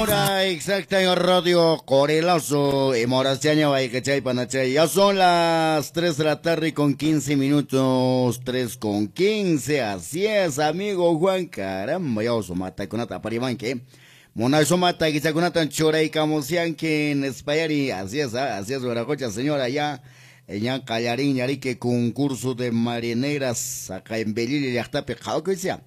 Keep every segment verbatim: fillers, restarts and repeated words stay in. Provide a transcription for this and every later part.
Hora exacta en Radio Corelazo y Moraciaña Guaycachay Panachay. Ya son las tres de la tarde con quince minutos, tres con quince. Así es, amigo Juan. Caramba, ya oso matakunata parimanque. Monazo mata guichakunata churaykamusianque en Espayari. Así es, así es, Guaracocha, señora, ya. Ya Callarín, Yarique, concurso de marineras acá en Belili, Yachtape, Jaucuicia.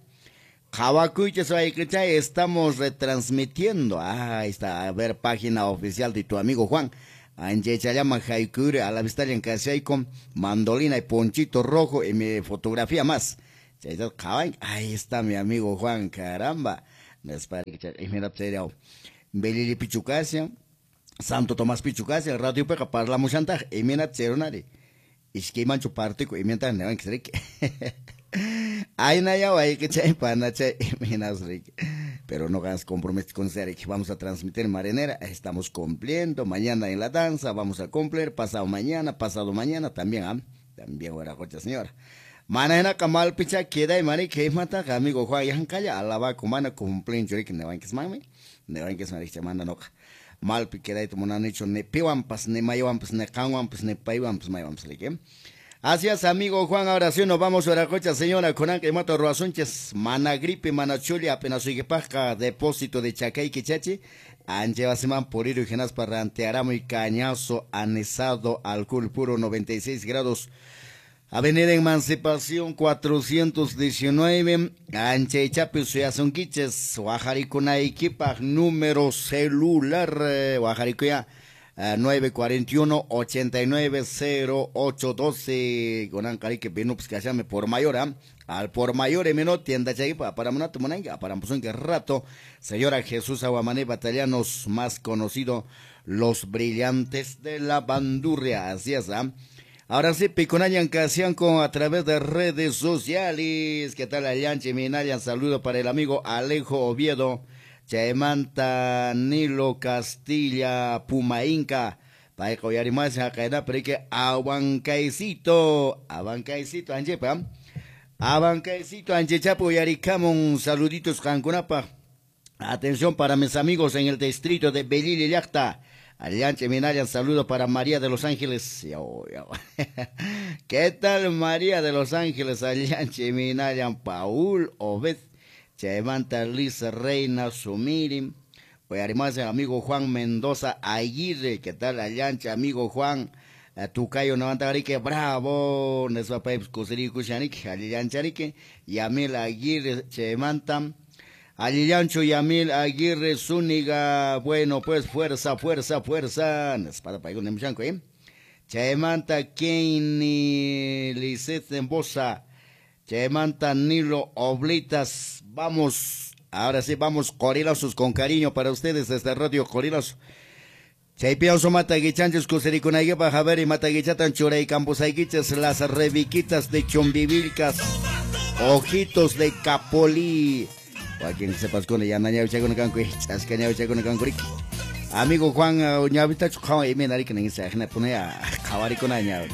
Estamos retransmitiendo. Ah, ahí está, a ver, página oficial de tu amigo Juan. Anchechayama Jaikure, a la vista en con mandolina y ponchito rojo y mi fotografía más. Ahí está mi amigo Juan, caramba. Belili Pichucasia, Santo Tomás Pichucasia, Radio Peca, parlamos chantaje, y mira, Cheronari. Isquimancho partico, y mientras ne van que ay, na ya, que chay, pana, chay, pero no hagas compromiso con Serek. Vamos a transmitir marinera, estamos cumpliendo. Mañana en la danza, vamos a cumplir. Pasado mañana, pasado mañana también, ¿ah? También, guaracocha, señora. Manena kamal picha queda y mani que mata amigo Juan yan calla alaba kumana cumplen churik ne van que mami, ne van que mari manda no. Mal piqueda y tomonan hecho ne piwampas ne mayawampas ne kanwampas ne paiwampas mayawampas like. Así es, amigo Juan, ahora sí nos vamos a la cocha, señora, con Anca y Mato Roazunches, mana gripe, mana chuli, apenas paja, depósito de Chacay Quichachi, Anchevaseman por ir y genas parrantearamo y cañazo anesado, alcohol puro, noventa y seis grados, Avenida Emancipación cuatrocientos diecinueve, Anchechapi, Suyazunquiches, Guajaricunaiquipa, número celular, Guajaricuya. nueve cuarenta y uno, ochenta y nueve, cero ocho doce, con Ancarique Binups que por mayor, ¿eh? Al por mayor, emino tienda chaipa, para monato monanga, para que rato, señora Jesús Aguamané Batallanos, más conocido, los brillantes de la bandurria, así es, ¿eh? Ahora sí, Piconayan Casianco a través de redes sociales. ¿Qué tal, Allanche Minayan? Saludo para el amigo Alejo Oviedo. Chaymanta Nilo Castilla Pumainca Paiko Yarimas Hakaina Perique Abancaicito Abancaicito Anchepa Abancaicito Anchechapo Yaricamon. Saluditos Cancunapa. Atención para mis amigos en el distrito de Belili Llacta. Allanche Minayan, saludo para María de los Ángeles. ¿Qué tal María de los Ángeles? Allanche Minayan, Paul Obed Chaymanta Liz Reina Sumiri. Además, amigo Juan Mendoza Aguirre, ¿qué tal? Allanche, amigo Juan Tucayo Novantarique, bravo, Nesvapaip Kusiriku Shanik, Allancharique, Yamil Aguirre, Chaymanta, Allancho Yamil Aguirre Zúñiga, bueno, pues fuerza, fuerza, fuerza, Nespada Paigun Nemshanko, ¿eh? Chaymanta Kenny Lizeth Embosa, Chaymanta Nilo Oblitas, vamos, ahora sí, vamos, Corilazos con cariño para ustedes desde Radio Corilazo. Chaypiauso Mataguichanches, Kuserikunaypa, Javier y Mataguichatan, Churay Campusayquiches, las reviquitas de Chumbivilcas, ojitos de Capolí. Joaquín sepas con ella, amigo Juan, ñavita, chujawa, y me narica, ni se ajena, pone a jabaricona, ña,